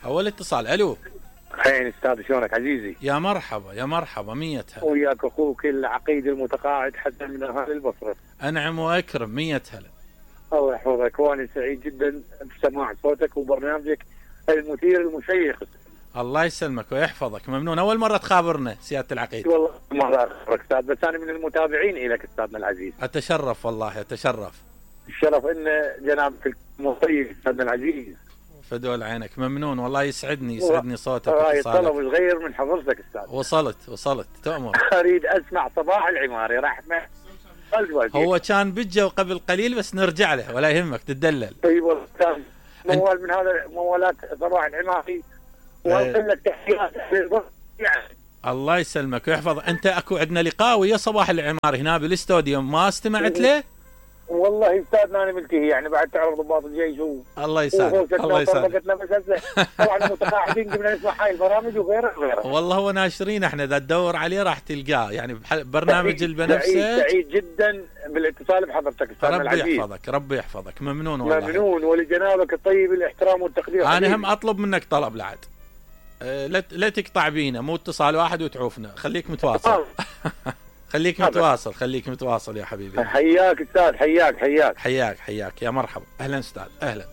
اول اتصال. الو. خير استاذ، شلونك عزيزي؟ يا مرحبا يا مرحبا، 100 هلا. وياك اخوك العقيد المتقاعد حسن من اهالي البصره. انعم واكرم، 100 هلا. الله يحفظك، وانا سعيد جدا بسماع صوتك وبرنامجك المثير المشيق. الله يسلمك ويحفظك، ممنون. اول مره تخابرنا سياده العقيد. والله مره اخبرك استاذ، بس انا من المتابعين لك استاذنا العزيز. اتشرف والله اتشرف. الشرف ان جنابك المطيب استاذنا العزيز. فدول عينك، ممنون والله، يسعدني صوتك هاي واتصالك. طلب صغير من حضرتك استاذ. وصلت تؤمر. اريد اسمع صباح العماري، راح هو كان بجا قبل قليل بس نرجع له ولا يهمك تدلل. طيب والله كان موال من هذا موالات صباح العماري، واقول لك تحيات يعني. الله يسلمك ويحفظ. انت اكو عندنا لقاء ويا صباح العماري هنا بالاستوديو، ما استمعت له؟ والله استاذنا انا ملتهي يعني، بعد تعرف ضباط الجيش الله يسعدك الله يسعدك. طبعا متقاعدين قبل نسمع هاي البرامج وغيرها. والله هو ناشرين احنا، اذا تدور عليه راح تلقاه يعني برنامج البنفسج. سعيد جدا بالاتصال بحضرتك استاذنا العزيز. ربي يحفظك ممنون والله. ممنون، ولجنابك الطيب الاحترام والتقدير. انا هم اطلب منك طلب لعد، لا تقطع بينا، مو اتصال واحد وتعوفنا، خليك متواصل. خليك متواصل يا حبيبي. حياك استاذ، حياك يا مرحبا. اهلا استاذ اهلا.